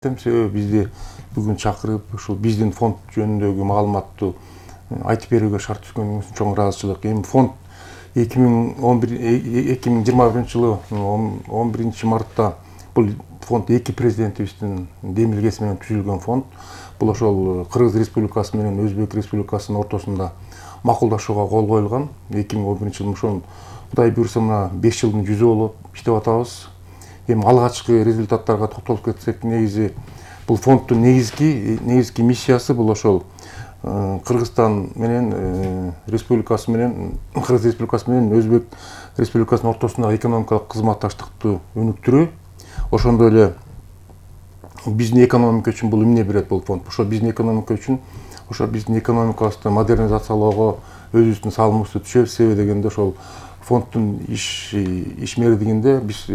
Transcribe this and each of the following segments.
Себеби бизди бүгүн чакырып, ушул биздин фонд жөнүндөгү маалыматту айтып берүүгө шарт түзгөнүңүз үчүн чоң ыраазычылык. Эми фонд 2021 жылы 11 мартта бул фонд эки президентибиздин демилгеси менен түзүлгөн фонд. Бул ошол Кыргыз Республикасы менен Өзбек Республикасынын ортосунда макулдашууга кол коюлган. 2011 жылы ошол Кудай буйрса мына 5 жылдын жүзү болуп иштеп атабыз. Эми алгачкы результаттарга токтолуп кетсек, негизи бул фонддун негизги миссиясы бул ошол Кыргызстан менен республикасы менен Кыргыз Республикасы менен Өзбек Республикасынын ортосундагы экономикалык кызматташтыкты өнүктүрүү. Ошондой эле биздин экономика үчүн бул эмне берет бул фонд? Ошо биздин экономика үчүн, ошо биздин экономикабызды модернизациялоого өзүбүздүн салымыбызды түшөбүз. Себеби дегенде ошол фонддун ишмердигинде биз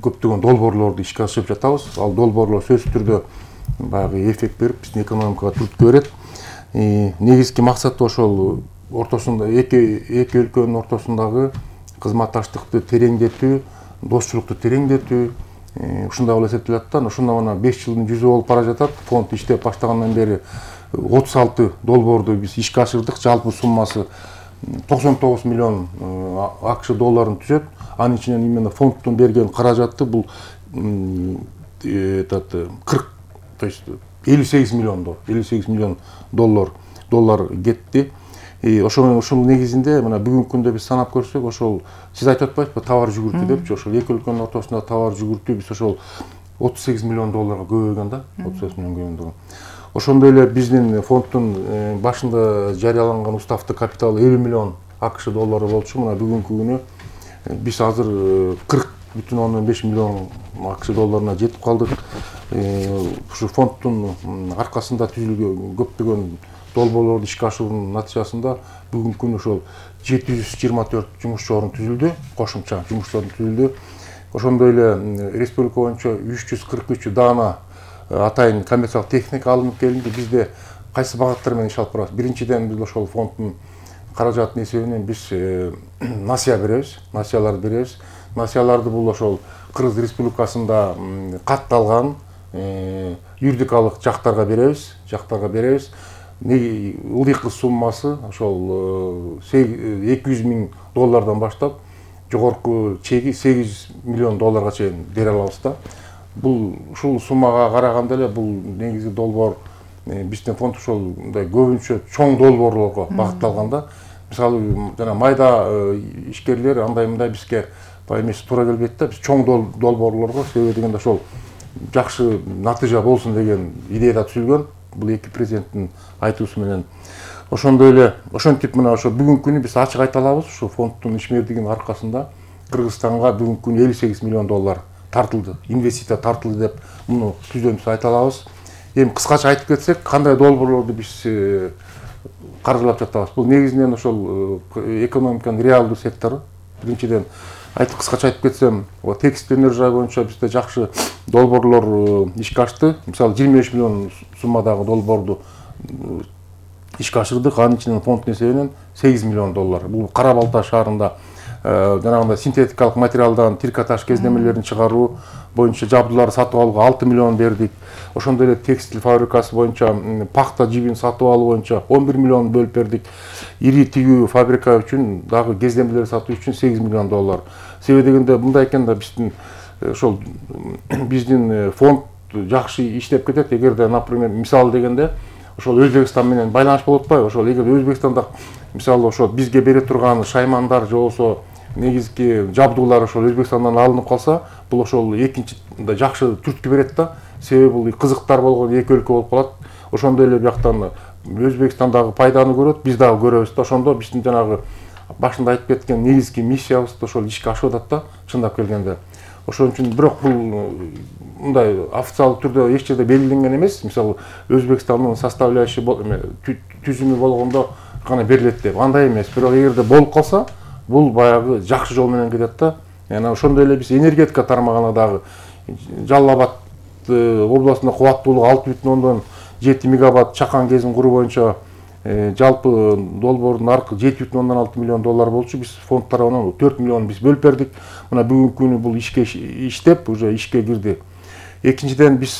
көптөгөн долбоорлорду ишке ашырып жатабыз. Ал долбоорлор сөзсүз түрдө баягы эффект берип, биздин экономикага түрткү берет. Негизги максаты ошол ортосунда эки өлкөнүн ортосундагы кызматташтыкты тереңдетүү, достчулукту тереңдетүү, ушундай болуп эсептелет да. Ошондо мына 5 жылдын жүзү болуп бара жатат. Фонд иштеп баштагандан бери 36 долбоорду биз ишке ашырдык. Жалпы суммасы 99 миллион АКШ долларын түзөт. Анын ичинен именно фонддун берген каражаты бул 40, то есть 58 миллион доллар кетти. Ошол негизинде мына бүгүнкү күндө биз санап көрсөк, ошол сиз айтып атпайсызбы, товар жүгүртүү депчи, ошол эки өлкөнүн ортосунда товар жүгүртүү биз ошол 38 миллион долларга көбөйгөн да, 38 миллион көбөйгөн. Ошондой эле биздин фонддун башында жарыяланган уставдык капиталы 50 миллион АКШ доллары болчу. Мына бүгүнкү күнү биз азыр 40,5 миллион АКШ долларына жетип калдык. Ушу фонддун аркасында түзүлгөн көптөгөн долбоорлорду ишке ашыруунун натыйжасында бүгүнкү күнү ошол 724 жумуш орун түзүлдү, кошумча жумуш орун түзүлдү. Ошондой эле республика боюнча 343 даана атайын коммерциялык техника алынып келинди. Бизде кайсы багыттар менен иш алып барабыз? Биринчиден биз ошол фонддун каражатынын эсебинен биз насыя беребиз, насыяларды беребиз. Насыяларды бул ошол Кыргыз Республикасында катталган юридикалык жактарга беребиз. Ылдыйкы суммасы ошол 200 миң доллардан баштап жогорку чеги 8 миллион долларга чейин бере алабыз да. Бул ушул суммага караганда эле бул негизи долбоор биздин фонд ошол мындай көбүнчө чоң долбоорлорго багытталган да. Мисалы жана майда ишкерлер андай мындай бизге эмеси туура келбейт да. Биз чоң долбоорлорго, себеби дегенде ошол жакшы натыйжа болсун деген идеяда түзүлгөн. Бул эки президенттин айтуусу менен. Ошондой эле ошентип мына ошо бүгүнкү күнү биз ачык айта алабыз, ушул фонддун ишмердигинин аркасында Кыргызстанга бүгүнкү күнү 58 миллион доллар тартылды, инвестиция тартылды деп муну түздөнүп айта алабыз. Эми кыскача айтып кетсек, кандай долбоорлорду биз каржылап жатабыз? Бул негизинен ошол экономиканын реалдуу сектору. Биринчиден кыскача айтып кетсем, текстиль энергия боюнча бизде жакшы долбоорлор ишке ашты. Мисалы 25 миллион суммадагы долбоорду ишке ашырдык. Анын ичинен фонддун эсебинен 8 миллион доллар. Бул Кара Балта шаарында жанагындай синтетикалык материалдан трикотаж кездемелерин чыгаруу боюнча жабдууларды сатып алууга 6 миллион бердик. Ошондой эле текстиль фабрикасы боюнча пахта жибин сатып алуу боюнча 11 миллион бөлүп бердик. Ири тигүү фабрика үчүн дагы кездемелер сатуу үчүн 8 миллион доллар. Себеби дегенде мындай экен да, биздин фонд жакшы иштеп кетет. Эгерде, например, мисалы дегенде ошол Өзбекстан менен байланыш болуп атпайбы? Ошол эгер Өзбекстанда мисалы ошол бизге бере турган шаймандар же болбосо негизги жабдуулар ошол Өзбекстандан алынып калса, бул ошол экинчи жакшы түрткү берет да. Себеби бул кызыктар болгон эки өлкө болуп калат. Ошондой эле бияктан Өзбекстандагы пайданы көрөт, биз дагы көрөбүз да. Ошондо биздин жанагы башында айтып кеткен негизги миссиябызды ошол ишке ашып атат да, чындап келгенде. Ошон үчүн бирок бул мындай официалдуу түрдө эч жерде белгиленген эмес. Мисалы Өзбекстандын составляющий түзүмү болгондо гана берилет деп. Андай эмес. Бирок эгерде болуп калса, бул баягы жакшы жол менен кетет да. Жана ошондой эле биз энергетика тармагына дагы Жалал Абад областында кубаттуулугу 6,7 мегаватт чакан кезин куруу боюнча жалпы долбоордун аркы 7,6 миллион доллар болчу. Биз фонд тарабынан 4 миллион биз бөлүп бердик. Мына бүгүнкү күнү бул ишке иштеп, уже ишке кирди. Экинчиден биз